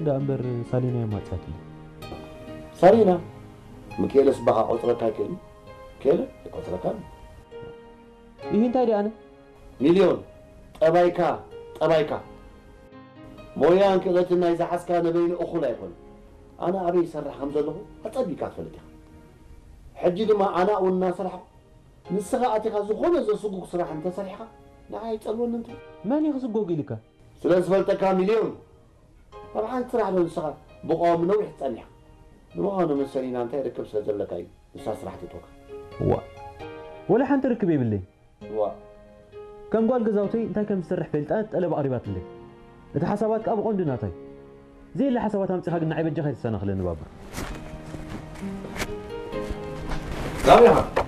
ደኣ እምበር ሳሊና የማጽኣትኒ። ሳሊና፣ ሚካኤለስ ባኻ ቆጽረካ ይክእል? ሚካኤለ ይቆጽረካ። ይህ እንታይ ደኣ ኣነ? ሚልዮን፣ ጠባይካ፣ ጠባይካ። ሞያን ክእለትን ናይ ዝሓዝካ ንበይኑ እኹል ኣይኮነ። ኣነ ኣበይ ይሰርሕ ከም ዘለኹ ኣጸቢካ ትፈልጥ ኢኻ። ሕጂ ድማ ኣነ እውን እናሰራሕኩ ንስኻ ኣቲኻ ዝኾነ ዘስጉግ ስራሕ እንተሰሪሕካ ንዓይ ይጸልወኒ እንተ። መን እዩ ክስጎግ ኢልካ? ስለ ዝፈልጠካ ሚልዮን። ኣብ ሓንቲ ስራሕ ዶ ንስኻ ብቐዋሚ ነዊሕ ትጸኒሕካ? ንምዃኑ መሰሊና እንታይ ርክብ ስለ ዘለካ እዩ ንሳ ስራሕ ትእትወካ? ዋ ወላ ሓንቲ ርክብ የብለይ። ዋ ከም ጓል ገዛውተይ እንታይ ከም ዝሰርሕ ፈልጣ ጠለብ ኣቕሪባትለይ። እቲ ሓሳባት ከኣ ብቐንዱ ናታይ። ዘየለ ሓሳባት ኣምጺኻ ግን ንዓይ በጃኻ ኣይተሰናኽለኒ ባባ። ዳብያኻ